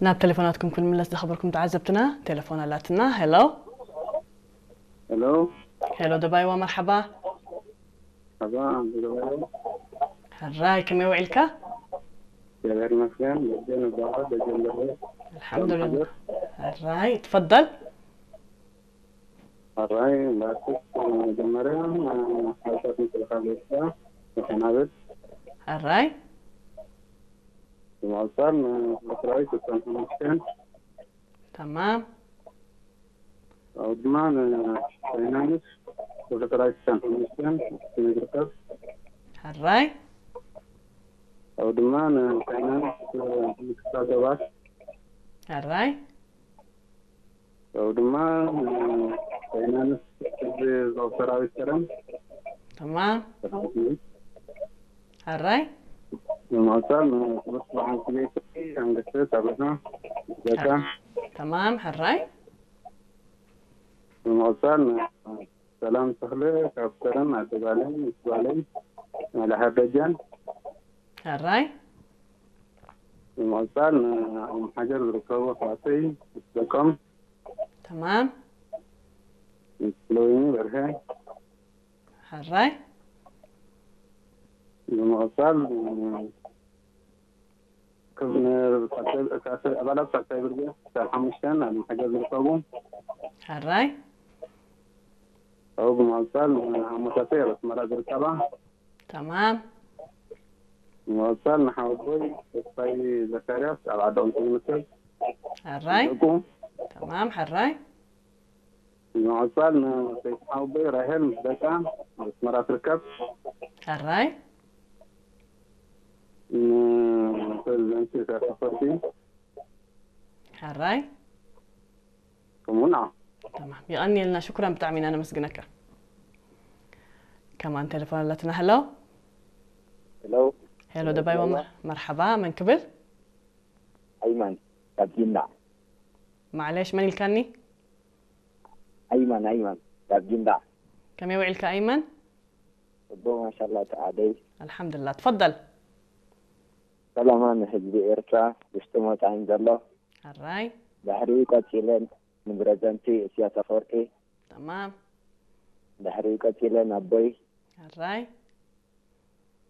ናብ ቴሌፎናትኩም ክንምለስ ዝኸበርኩም ተዓዘብትና፣ ቴሌፎን ኣላትና። ሄሎ። ሄሎ። ሄሎ ደባይዋ፣ መርሓባ። ሓባ ኣንዝገባዮ። ሕራይ፣ ከመይ ውዒልካ? እግዚኣብሔር ይመስገን። ደጀን እባላለሁ። ደጀን ገብረ። ኣልሓምዱሊላህ። ሕራይ፣ ትፈደል። ሕራይ፣ ባርክት። መጀመርያ ሓሳብ ምክልኻል ኤርትራ ተሰናበት። ሕራይ። ብምቕጻል ንሰራዊት ተሰናበት። ተማም። ኣብኡ ድማ ንፋይናንስ ወደ ሰራዊት ተሰናበት። ዝርከብ ሕራይ። ኣብኡ ድማ ንፋይናንስ ምክትታል ሰባት ሕራይ። ኣብኡ ድማ ፋይናንስ ሕዝቢ ዞብ ሰራዊት ከረን ተማም። ሰራዊት ሕራይ። ብምቕጻል ንክቡር ስብሓን ስሜቲ ኣንገተ ታበታ ዘካ ተማም። ሕራይ። ብምቕጻል ሰላም ተኽለ ካብ ከረን ኣደባለይ ምስ ጓለይ መላሓ በጃን ሕራይ። ብምቕጻል ንኣም ሓጀር ዝርከቡ ኣሕዋተይ ምስ ደቆም ተማም። ምስ ለወይኒ በርሀ ሕራይ። ብምቕጻል ኣባላት ሳልሳይ ብርጌድ ክሳብ ሓሙሽተን ኣብ ሓጀር ዝርከቡ ሕራይ። ኣብኡ ብምቕጻል ኣሞታተይ ኣብ ኣስመራ ዝርከባ ተማም። ብምቕጻል ንሓወቦይ ተስፋይ ዘካርያስ ኣብ ዓዲ ቁምስል ዝርከብ ሕራይ። ደቁ ተማም። ሕራይ። ብምቕጻል ንሰይቲ ሓወቦይ ራሄል ምስ ደቃ ኣብ ኣስመራ ትርከብ ሕራይ። ንፕሬዚደንት ኢሳያስ ኣፈወርቂ ሕራይ። ከምኡ ንዓ ተማም። የቐንየልና፣ ሽኩራን፣ ብጣዕሚ ኢና ነመስግነካ። ከማን ቴሌፎን ኣለትና። ሄሎ። ሄሎ። ሄሎ ደባይዋ፣ መር- መርሓባ። መን ክብል? ኣይማን ካብ ጊንዳዕ። ማዕለሽ፣ መን ኢልካኒ? ኣይማን ኣይማን ካብ ጊንዳዕ። ከመይ ውዒልካ ኣይመን? ጽቡቕ ማሻላ ተዓደይ። ኣልሓምዱላ። ትፈደል። ሰላማ ንህዝቢ ኤርትራ ውሽጥን ወጻኢን ዘሎ። ሕራይ። ድሕሪኡ ቀጺለ ንፕረዚደንቲ ኢሳያስ ኣፈወርቂ። ተማም። ድሕሪኡ ቀጺለ ናቦይ። ሕራይ።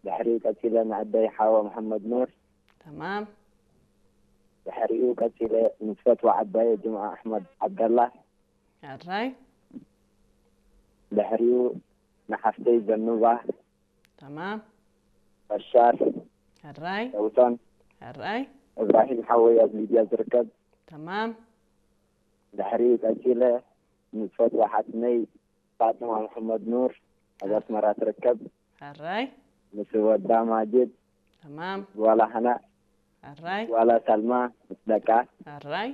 ድሕሪኡ ቀጺለ ንኣደይ ሓዋ መሓመድ ኑር። ተማም። ድሕሪኡ ቀጺለ ንዝፈትዋ ዓባየ ጅምዓ ኣሕመድ ዓብደላ። ሕራይ። ድሕሪኡ ንሓፍተይ ዘኑባ። ተማም። በሻር። ሕራይ። ሰውቶን። ሕራይ። እብራሂም ሓወይ ኣብ ሊብያ ዝርከብ። ተማም። ድሕሪኡ ቀጺለ ንዝፈትዋ ሓትነይ ፋጥማ መሐመድ ኑር ኣብ ኣስመራ ትርከብ። ሕራይ። ምስ ወዳ ማጅድ ተማም። ጓላ ሃና ሕራይ። ጓላ ሳልማ ምስ ደቃ። ሕራይ።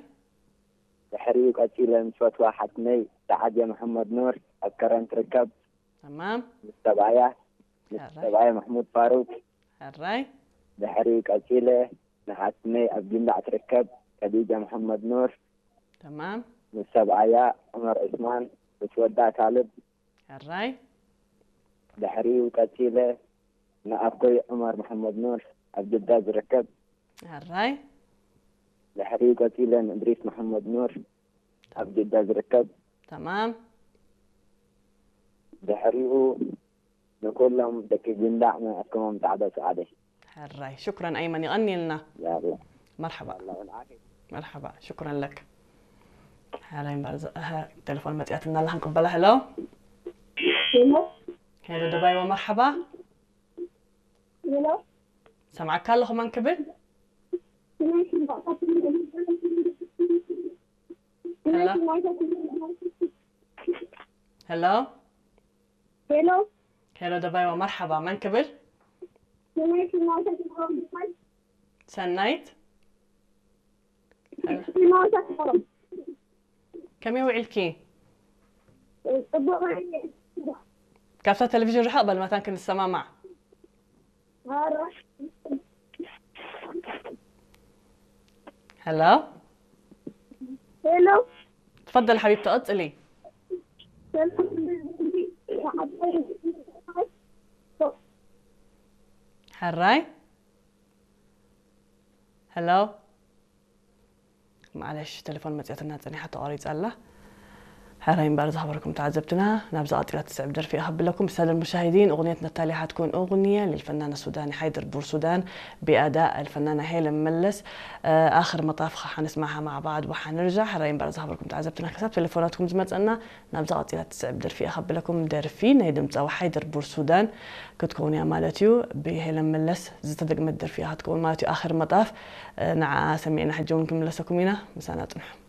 ድሕሪኡ ቀጺለ ምስ ፈትዋ ሓትነይ ሰዓድያ መሐመድ ኑር ኣብ ከረን ትርከብ። ተማም። ምስ ሰብኣያ ምስ ሕራይ። ሰብኣያ ማሕሙድ ፋሩቅ። ሕራይ። ድሕሪኡ ቀጺለ ንሓትነይ ኣብ ጊንዳዕ ትርከብ ከዲጃ መሐመድ ኑር። ተማም። ምስ ሰብኣያ ዑመር ዑስማን ምስ ወዳ ካልብ። ሕራይ። ድሕሪኡ ቀጺለ ንኣቦይ ዑመር መሐመድ ኑር ኣብ ጅዳ ዝርከብ። ሕራይ። ድሕሪኡ ቀጺለ ንእድሪስ መሐመድ ኑር ኣብ ጅዳ ዝርከብ። ተማም። ድሕሪኡ ንኩሎም ደቂ ጊንዳዕ ንኣከሞም ጻዕዳ ሰዓደ። ሕራይ። ሽኩረን ኣይመን፣ ይቐንየልና። ያላ መርሓባ። ያላ ወልዓፊ። መርሓባ። ሽኩረን ለክ። ሕራይ እምበር ዘ- እህ፣ ቴሌፎን መጽያትና ኣላ ክንቅበላ። ሄሎ። ሄሎ። ሄሎ ደባይዋ፣ መርሓባ። ሄሎ። ሰምዓካ ኣለኹ፣ መን ክብል? ሄሎ። ሄሎ። ሄሎ። ሄሎ ደባይዋ፣ መርሓባ፣ መን ክብል? ሰናይት። ከመይ ውዒልኪ? ጽቡቕ። ካብታ ቴሌቪዥን ርሕቕ በል መታን ክንሰማማዕ። ኧረ። ሄሎ። ሄሎ። ትፈደል ሓቢብቲ፣ ቀጽሊ። ሕራይ። ሄሎ። معلش، تليفون መጽያትና ጸኒሓ ተቋሪጻ ኣላ። ሕራይ እምበር ዝኸበርኩም ተዓዘብትና፣ ናብዛ ቀጺላ ትስዕብ ደርፊ እያ ከብለኩም። السادة المشاهدين، أغنيتنا التالية حتكون أغنية للفنانة السوداني حيدر بورسودان بأداء الفنانة هيلين ملس. آه، آخر مطاف خ-، حنسمعها مع بعض وحنرجع. ሕራይ እምበር ዝኸበርኩም ተዓዘብትና፣ ክሳብ ቴሌፎናትኩም ዝመጸና ናብዛ ቀጺላ ትስዕብ ደርፊ እያ ከብለኩም። ደርፊ ናይ ድምጻዊ ሓይደር ቡርሱዳን ክትከውን እያ ማለት እዩ። ብሄለን መለስ ዝተደግመት ደርፊ እያ ክትከውን ማለት እዩ። ኣኽር መጣፍ፣ እ፣ ንዓ ሰሚዕና ሕጂ እውን ክንምለሰኩም ኢና። ምሳና ጽንሑ።